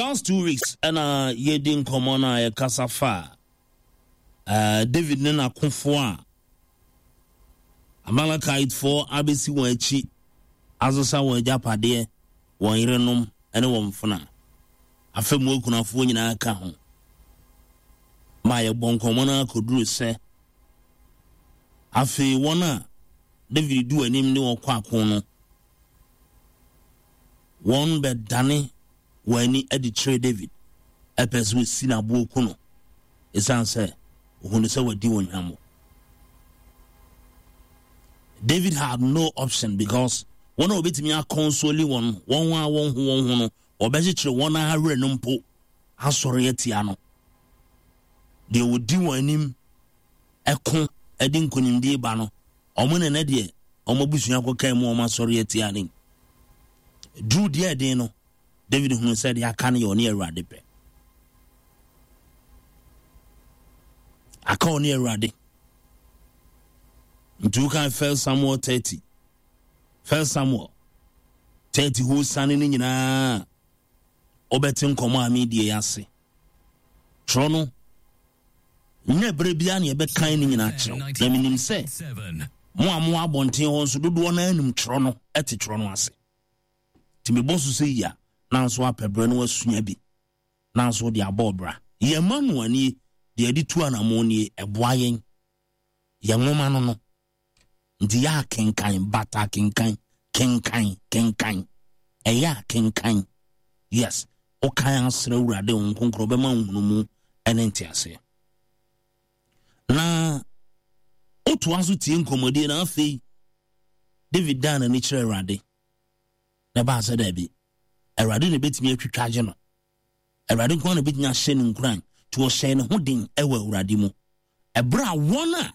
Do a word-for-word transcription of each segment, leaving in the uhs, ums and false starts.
last two weeks ɛna yɛdi nkɔmmɔ no a yɛkasa fa uh, David ne n'akofoɔ a Amalekitefoɔ abɛsi wɔn akyi asesa wɔn agyapadeɛ, wɔn yerenom ne wɔn mfena. Afei mu akunafoɔ nyinaa ka ho. Ma yɛbɔ nkɔmmɔ no akɔduru sɛ afei wɔn a David di anim ne wɔn kɔ ako no, wɔn bɛdane wɔn ani de kyerɛ David, ɛpɛ sɛ wɔsi n'aboɔ ku no, ɛsiane sɛ ohunu sɛ wadi wɔn hwammɔ. David had no option because wɔn a wɔbɛtumi aconsole wɔn, wɔn a wɔn ho wɔn ho no, wɔbɛkyekyere wɔn awerɛ no mpo asɔre atia no. Deɛ wɔdi wɔn anim ɛko ɛde nkonimdie ba no, wɔn ne ne deɛ wɔn abusua kɔkaa mu wɔn asɔre atia no. Duru deɛ ɛden no, David hunu sɛ deɛ aka no yɛ ɔne Awurade pɛ. Aka ɔne Awurade. Nti wokan First Samuel thirty. First Samuel thirty ho sane no nyinaa wobɛte nkɔmmɔ a medie ase. Twerɛ no nyɛ berɛ biara ne yɛbɛkan no nyinaa kyerɛw. Na menim sɛ mo a mo abɔnten hɔ nso dodoɔ no anim twerɛ no te twerɛ no ase. Nti mebɔ so sɛ yi a nanso apɛ berɛ no wasua bi nanso de abɔ ɔbra. Yɛn ma no anie deɛ yɛde tu anammɔn nie, ɛboa yɛn. Yɛn nwoma no no. Nti yɛ akenkan, bata kenkan, kenkan, kenkan. Ɛyɛ akenkan. Yes, wokan asrɛ Awurade wo nkonkron bɛma nhunumu ɛne nteaseɛ. Na wotoa so tie nkɔmmɔdie na afei David daa n'ani kyerɛ Awurade. Na ɛbaa sɛ daabi, Awurade na ɛbɛtumi atwitwa agye no. Awurade nko ara na ɛbɛtumi ahyɛ no nkuran. Nti ɔhyɛɛ ne ho den ɛwɔ Awurade mu. Ɛberɛ a wɔn a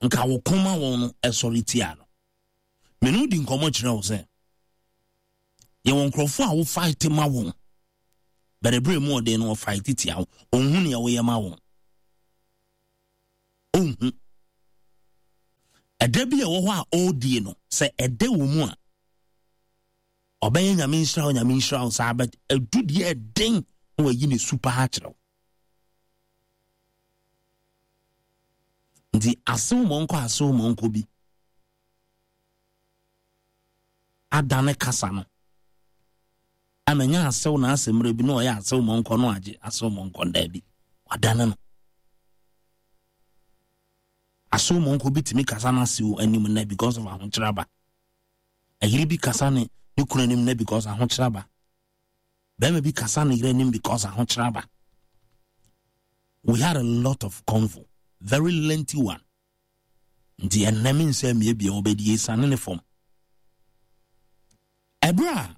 nka wɔko ma wɔn no ɛsɔre tia no. Mene wo di nkɔmmɔ kyerɛ wo sɛ yɛwɔ nkurɔfoɔ a wofight ma wɔn, but ɛberɛ mu ɔden no wɔfight tia wo. Ɔnhu nea woyɛ ma wɔn. Ɔnhu. Ɛda bi a ɛwɔ hɔ a ɔredie no, sɛ ɛda wɔ mu a, ɔbɛyɛ Nyame nhyira wo, Nyame nhyira wo saa, but ɛdu deɛ ɛden na wayi ne su paa kyerɛ wo. Nti asew mɔnkɔ asew mɔnkɔ bi adane kasa no ama nya asew na asɛ mmerɛ bi na ɔyɛ asew mɔnkɔ no agye asew mɔnkɔ ndaabi wadane no. Asew mɔnkɔ bi tumi kasa no asew anim nɛ because of ahokyerɛ aba. Ayere bi kasa ne ne kunu anim nɛ because ahokyerɛ aba. Bɛrima bi kasa ne yere anim because ahokyerɛ aba. We had a lot of convo, very lengthy one. Nti ɛnnɛ me nsa mmiebie wɔbɛdi esiane ne fam. Ɛberɛ a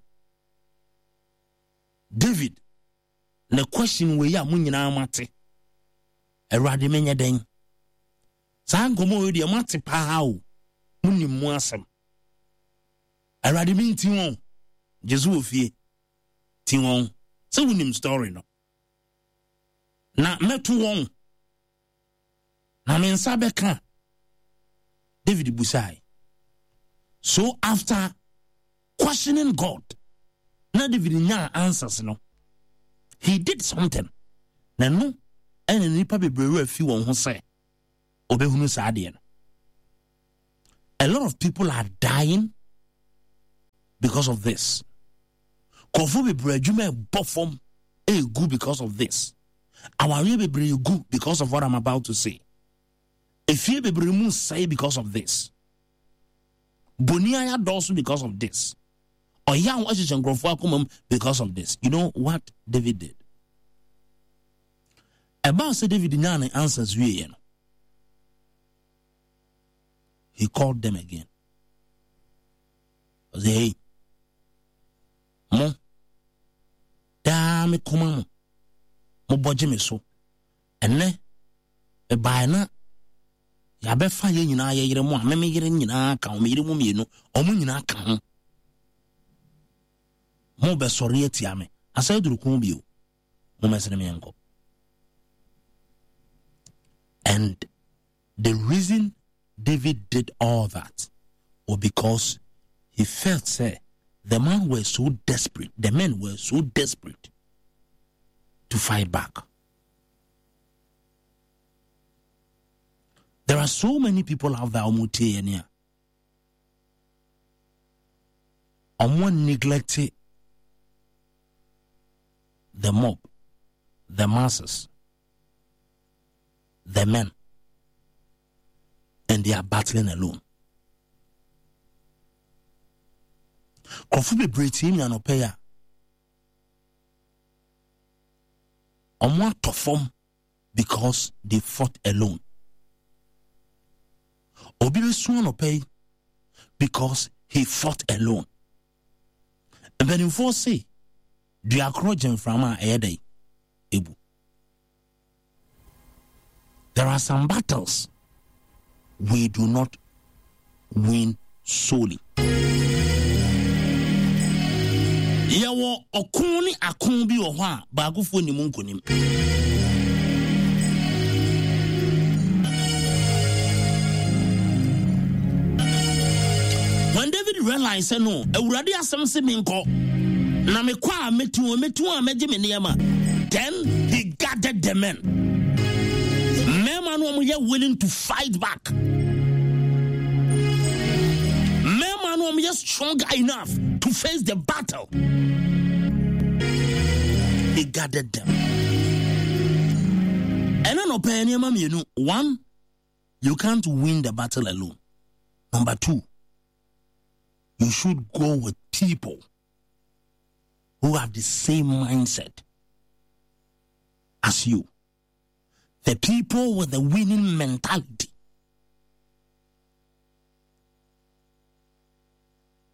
David ne question wei a mo nyinaa mate, Awurade menyɛ dɛn? Saa nkɔmmɔ wei deɛ moate paa o, monim mu asɛm. Awurade menti wɔn, gye so wɔ fie, ti wɔn, sɛ wonim story no. Na mɛto wɔn, na me nsa bɛka. David busae. So after questioning God, na David nyaa answers no, he did something. Na no, ɛna nipa bebree werɛ fi wɔn ho sɛ ɔbɛhunu saa adeɛ no. A lot of people are dying because of this. Nkurɔfoɔ bebree adwuma ɛbɔ fam ɛgu because of this. Awareɛ bebree gu because of what I'm about to say. Efie bebree mu sɛe because of this. Boni ayɛ dɔɔso because of this. Ɔyaw ahyehyɛ nkurɔfoɔ akoma mu because of this. You know what David did? Ɛbaa sɛ David nyaa ne answers wieɛ no, he called them again. Ɔsɛ, hey, mo, daa me koma mo, mo bɔgye me so. Ɛnɛ, mebae na yɛabɛfa yɛn nyinaa yɛ yere mo a, me me yere nyinaa ka ho, me yere mu mmienu, ɔmo nyinaa ka ho. Mo bɛsɔre atia me. Asɛ aduru ko bio. Mo mɛsene me nkɔ. And the reason David did all that was because he felt say The man were so desperate, the men were so desperate to fight back. There are so many people out there ɔmo tie yɛn a ɔmo neglect the mob, the masses, the men, and they are battling alone. Nkurɔfo bebree tie mi anɔpɛ yi a ɔmo atɔ fam because they fought alone. Obi bɛsu anɔpɛ yi because he fought alone. Mpanimfoɔ se dua korɔ gye mframa a ɛyɛ dɛ ebu. There are some battles we do not win solely. Yɛwɔ ɔko ne ako bi wɔ hɔ a baakofoɔ nim nkonim. When David realized sɛ no, Awurade asɛm se menkɔ, na mekɔ a mɛtu wɔn, mɛtu wɔn a mɛgye me nneɛma. Then he gathered the men. Mmarima no wɔn yɛ willing to fight back. Mmarima no wɔn yɛ strong enough to face the battle. He gathered them. Ɛna na ɔpɛ nneɛma mmienu. One, you can't win the battle alone. Number two, you should go with people who have the same mindset as you. The people with the winning mentality.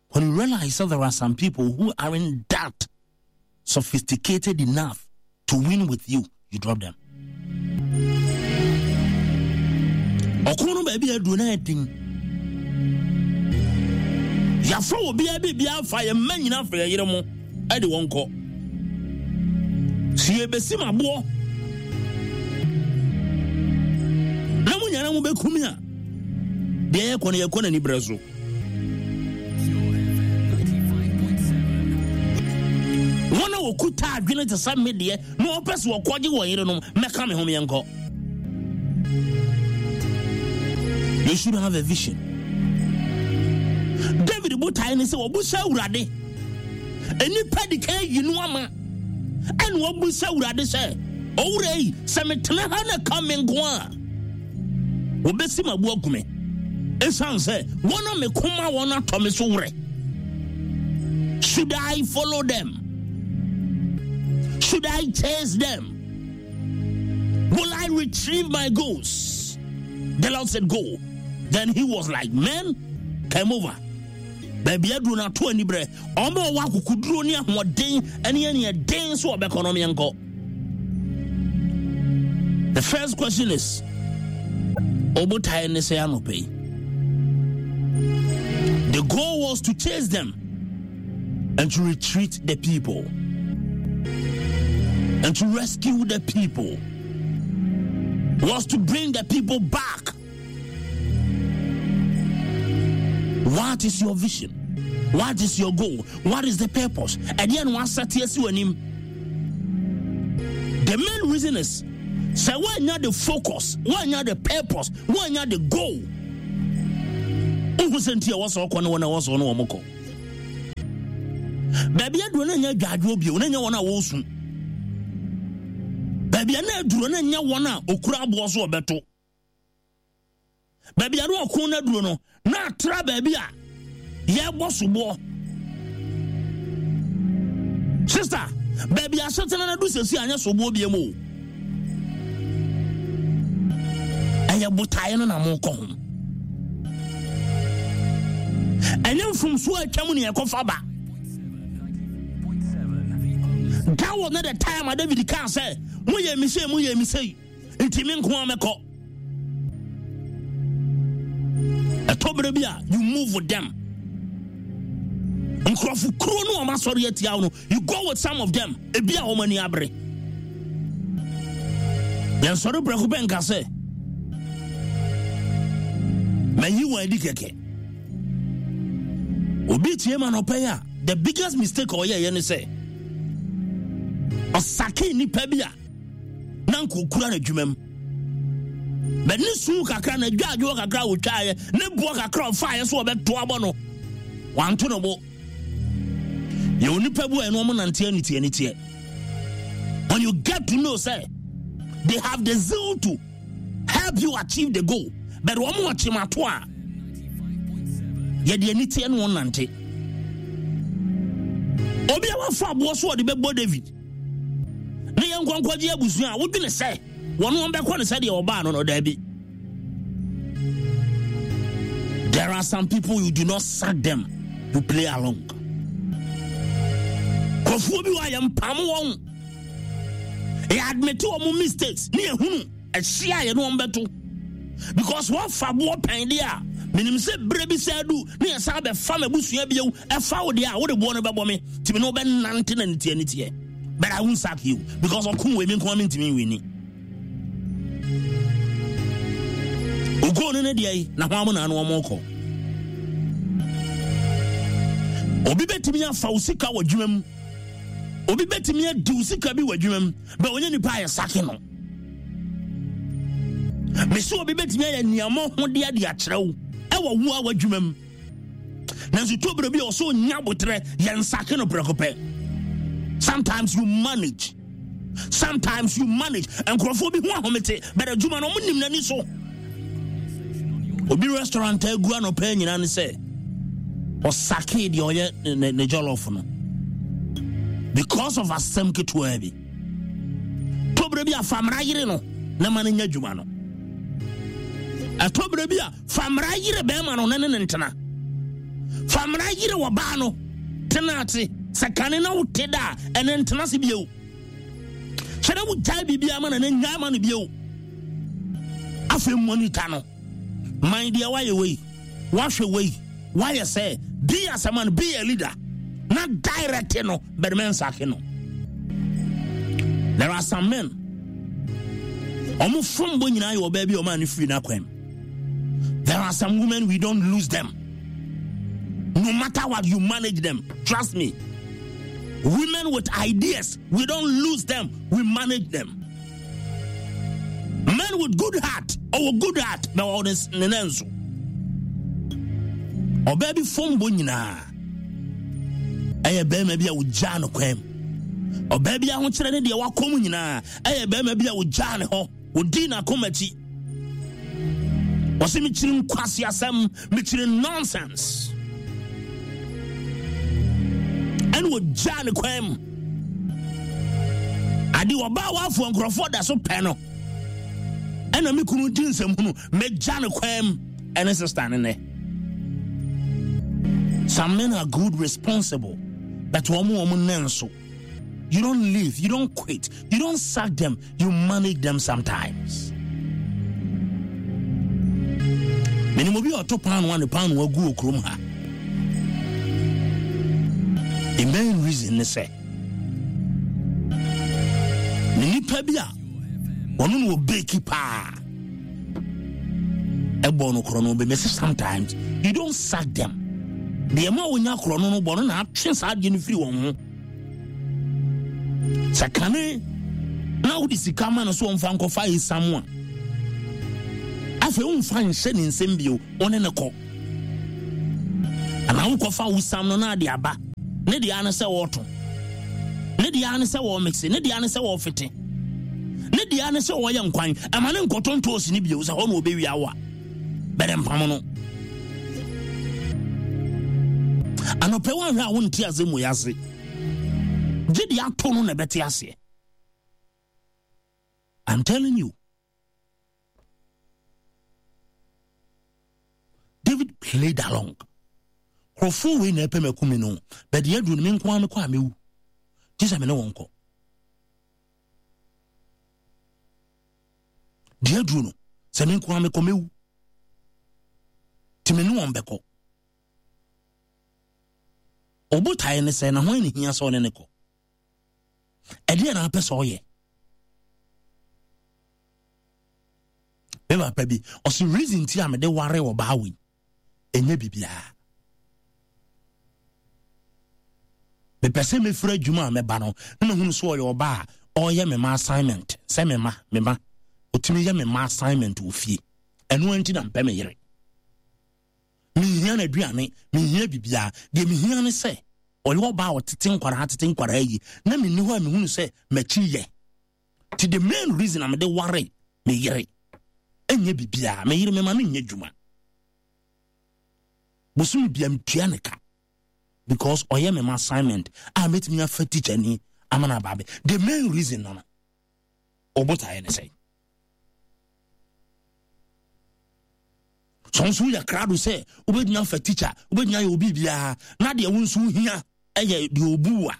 When you realize that there are some people who aren't that sophisticated enough to win with you, you drop them. Ɔko no baabi aduro no ɛden. Yɛafa obiara biribiara fa yɛn mma nyinaa fa yɛn yere mo ɛde wɔn kɔ. Si yɛbɛsi m aboɔ na mo nyinaa mo bɛkumi a deɛ yɛkɔ no yɛkɔ n'ani berɛ so. Wɔn a wɔkuta adwene te sɛ me deɛ na wɔpɛ sɛ wɔkɔgye wɔn yerenom mɛka me ho meɛnkɔ. You should have a vision. David botae ne sɛ wɔbusa Awurade. Nnipa di kan yi no ama. Ɛna wɔbusa Awurade sɛ, owura yi, sɛ metena ha na ka me nko a, wɔbɛsi m'abo agu me. Ɛsiane sɛ wɔn a meko ma wɔn atɔ me so werɛ. Should I follow them? Should I chase them? Will I retrieve my goods? The Lord said, Go. Then he was like, Men, come over. Baabi aduro no ato ani berɛ ɔma ɔwɔ akokoduro ne ahoɔden ne ɛneɛ den so ɔbɛkɔ no meɛnkɔ. The first question is, Obotae ne sɛ anɔpɛ yi. The goal was to chase them and to retreat the people and to rescue the people, was to bring the people back. What is your vision? What is your goal? What is the purpose? And then one him. The main reason is say why not the focus, why not the purpose, why not the goal? Wohu sɛ nti a ɛwɔ sɛ ɔkɔ ne wɔn a ɛwɔ sɛ ɔne wɔn kɔ. Baabi aduro no nyɛ adwadwoɔ bio, na nyɛ wɔn a wɔresu. Baabi a na aduro no nyɛ wɔn a okura aboɔ so ɔbɛto. Baabi a na ɔko no aduro no na atra baabi a yɛbɔ soboɔ. Sister, baabi a asetena no adu sɛsi anyɛ soboɔ bie mu o. Ɛyɛ botaeɛ no na mokɔ ho. Ɛnyɛ mfomsoɔ a atwa mu ne yɛkɔfa ba. That was not the time a David kaa sɛ moyɛ me sei moyɛ me sei nti me nko a mɛkɔ. Ɛtɔ berɛ bi a you move with them. Nkurɔfo kuro no wɔn asɔre atia wo no, you go with some of them. Ebi a wɔn ani abere. Yɛnsɔre prɛko pɛ nka sɛ mayi wɔn adi kɛkɛ. Obi tie ma nɔpɛ yi a The biggest mistake ɔyɛɛyɛ ne sɛ ɔsake nnipa bi a na nka ɔkura n'adwuma mu. Bɛ ne su kakra na adwadwoɔ kakra a wɔtwaeɛ ne boɔ kakra a ɔfaeɛ so ɔbɛto abɔ no, wanto ne bo. Yɛ onipa bi a ɛno ɔmo nante aniteɛ aniteɛ. When you get to know say they have the zeal to help you achieve the goal, but wɔn wɔ kyemato a yɛde aniteɛ ne wɔn nante. Obi a wafa aboɔ so ɔde bɛbɔ David ne yɛn nkɔnkɔgye abusua a wodwene sɛ wɔn wɔn bɛkɔ ne sɛdeɛ ɔbaa no no, daabi. There are some people, you do not sack them, you play along. Kɔfoɔ bi wɔ a yɛmpam wɔn, yɛ admit wɔn mistakes ne yɛhunu ɛhyia a yɛne wɔn bɛto, because wɔfa boɔ pɛn deɛ a menim sɛ berɛ bi sɛ adu ne yɛsan bɛfa m'abusua bio ɛfa wo deɛ a wode boɔ no bɛbɔ me timi ne wobɛnante na niteɛ niteɛ, but I won't sack you because ɔko wei me nko a mentumi nwini ogoo no ne deɛ yi na ho amo na ano ɔmo kɔ. Obi bɛtumi afa wo sika wɔ adwuma mu, obi bɛtumi adi wo sika bi wɔ adwuma mu, bɛ ɔnyɛ nipa a yɛsake no. Mesi obi bɛtumi ayɛ nneɛma ho de ade akyerɛ wo ɛwɔ wo a w'adwuma mu, nanso to berɛ bi a ɔsɛ ɔnya abotrɛ, yɛnsake no prɛko pɛ. Sometimes you manage, sometimes you manage. Nkurɔfoɔ bi ho ahomete, but adwuma no ɔmo nim n'ani so. Obi restaurant agu anɔpɛ nyinaa ne sɛ ɔsake deɛ ɔyɛ ne ne jollof no because of asɛm ketewa bi. Tɔberɛ bi a famra yere no na ma no nya adwuma no. Ɛtɔberɛ bi a famra yere bɛrima no na ne ne ntena. Famra yere ɔbaa no tena ase sɛ kane na wote da a ɛne ntena se bio. Kyerɛ wogyae biribiara ma na ne nyae ma no bio. Afei monitor no. Man deɛ wayɛ wei, wahwɛ wei, wayɛ sɛ be as a man, be a leader. Na direct no, but men sake no. There are some men. Ɔmo fom bɔ nyinaa yɛ ɔbaa bi a ɔmaa ne firi n'akwan mu. There are some women, we don't lose them. No matter what, you manage them. Trust me. Women with ideas, we don't lose them, we manage them. Men with good heart, or good heart, na ɔwɔ ne nan so. Ɔbaa bi fom bɔ nyinaa ɛyɛ bɛrima bi a ogyaa no kwan mu. Ɔbaa bi ahokyerɛ ne deɛ wakɔ mu nyinaa ɛyɛ bɛrima bi a ogyaa ne hɔ, odii n'akoma akyi. Wɔsɛ mekyiri nkwasi asɛm, mekyiri nonsense. Ɛna ogyaa ne kwan mu. Ade ɔbaa wafoɔ nkurɔfoɔ da so pɛ no. Ɛna me kunu di nsɛm hunu, megya ne kwan mu. Ɛne sister ne nɛ. Some men are good, responsible, but wɔn wɔn nɛ nso. You don't leave, you don't quit, you don't sack them, you manage them sometimes. Menim obi a ɔto paano a ne paano agu wɔ kurom ha. The main reason ne sɛ ne nipa bi a ɔno na ɔbɛki paa ɛbɔ no korɔ no bɛ mɛsɛ sometimes you don't sack them. Deɛ ma wonya korɔ no no bɔ no na atwe saa adeɛ no firi wɔn ho. Sɛ kane na wode sika ma no so ɔmfa nkɔfa esam a, afei womfa nhyɛ ne nsɛm bio, wo ne ne kɔ. Anaa wokɔfa wo sam no na ade aba. Ne deɛ ano sɛ wɔɔto, ne deɛ ano sɛ wɔɔmekse, ne deɛ ano sɛ wɔɔfete, ne deɛ ano sɛ wɔɔyɛ nkwan. Ɛma ne nkɔtɔ ntoosi ne bio sɛ hɔ na ɔbɛwia wo a, bɛdɛ mpam no. Anɔpɛ woanhwɛ a wonte ase mu ase. Gye deɛ ato no na ɛbɛte aseɛ. I'm telling you. David played along. Nkurɔfoɔ wei na ɛpɛ m'akumi no, but deɛ aduru no me nko ara mekɔ a mewu. Gye sɛ me ne wɔn kɔ. Deɛ aduru no, sɛ me nko ara mekɔ mewu. Nti me ne wɔn bɛkɔ. Ɔbotaeɛ ne sɛ na hwan ne hia sɛ ɔne ne kɔ. Ɛdeɛ na apɛ sɛ ɔyɛ. Me papa bi, ɔse reason ti a mede ware ɔbaa wei, ɛnyɛ biribiara. Mepɛ sɛ mefiri adwuma a mɛba no na mahunu sɛ ɔyɛ ɔba a ɔreyɛ me ma assignment, sɛ me ma me ma ɔtumi yɛ me ma assignment wɔ fie. Ɛno nti na mpɛ me yere. Menhia n'aduane, menhia biribiara. Deɛ mehia ne sɛ ɔyɛ ɔba a ɔtete nkwaraa tete nkwaraa yi na menni hɔ a mehunu sɛ m'akyi yɛ. Nti the main reason a mede ware me yere ɛnyɛ biribiara. Me yere mema no nyɛ adwuma. Bosome bia metua ne ka because ɔyɛ me ma assignment a mɛtumi afa teacher ni ama no aba abɛ. The main reason no no ɔbotaeɛ ne sɛ sɛ nso woyɛ krado sɛ wobɛtumi afa teacher, wobɛtumi ayɛ obi biara na deɛ wo nso hia ɛyɛ deɛ ɔbu a,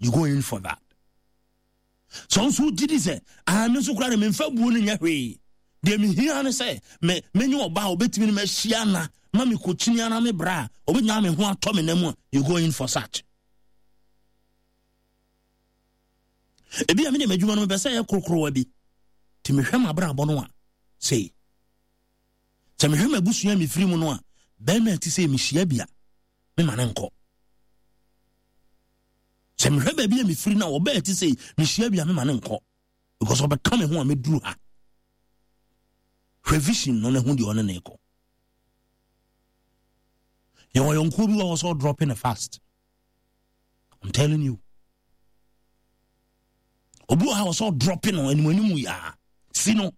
you go in for that. Sɛ nso wogye di sɛ ah, me nso koraa de memfa buo no nyɛ hwee, deɛ mehia ne sɛ me menye ɔba a ɔbɛtumi no mahyia na ma mekɔkyini ana me bra a ɔbɛtumi me ho atɔ me nam a, you go in for such. Ebi a mede m'adwuma no mepɛ sɛ ɛyɛ korokorowa bi, nti mehwɛ m'abrabɔ no a sei, sɛ mehwɛ m'abusua a mefiri mu no a, bɛrima a ɛte sɛ mehyia bi a mema ne nkɔ. Sɛ mehwɛ baabi a mefiri no a, ɔbaa a ɛte sɛ mehyia bi a mema ne nkɔ, because ɔbɛka me ho a mɛduru ha. Hwɛ vision no ne ho deɛ ɔne ne kɔ. Yɛwɔ yɔnkoɔ bi wɔ hɔ sɛ ɔdrɔpe ne fast. I'm telling you. Obi wɔ ha wɔ sɛ ɔdrɔpe no anim anim yaa si no.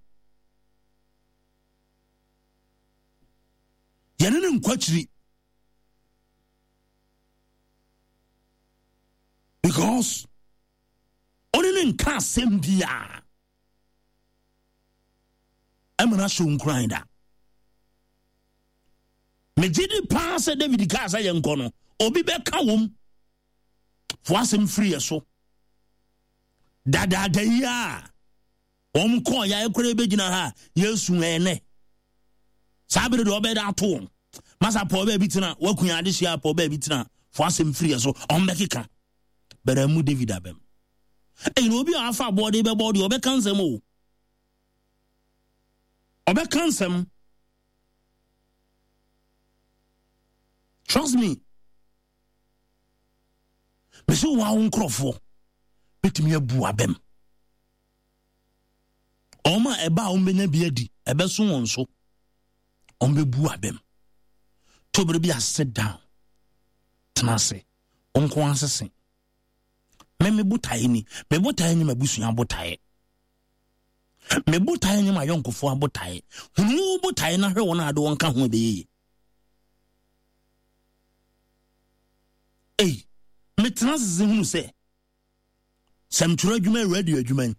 Yɛne ne nkɔ akyiri because ɔne ne nka asɛm biara ɛma no ahyɛ nkuran da. Megye di paa sɛ David kaa sɛ yɛnkɔ no, obi bɛka wom fo asɛm firi yɛ so dadaada yi a wɔn kɔɔ yɛ ayɛkora bɛgyina ha yɛsu ɛnɛ saa bere deɛ ɔbɛda ato wɔn masa pɔɔ baabi tena wakunya adehyia pɔɔ baabi tena fo asɛm firi yɛ so ɔn bɛkeka bɛrɛ mu David abɛm. Ɛyi na obi a afa aboɔde bɛbɔ deɛ ɔbɛka nsɛm o, ɔbɛka nsɛm. Trust me. Mesi wɔn awo nkorɔfoɔ bɛtumi abu abɛm. Wɔn a ɛba a wɔn bɛnya bi adi ɛbɛso wɔn so, wɔn bɛbu abɛm. Tobere bi a sit down, tena ase, wɔn nko asese. Me me botaeɛ ni, me botaeɛ ni m'abusua botaeɛ. Me botaeɛ ni m'ayɔnkofoɔ abotaeɛ. Hunu wo botaeɛ na hwɛ wɔn a ade wɔn ka ho ɛbɛyɛ yie. Ei, metena ase hunu sɛ sɛ metwerɛ adwuma, radio adwuma yi,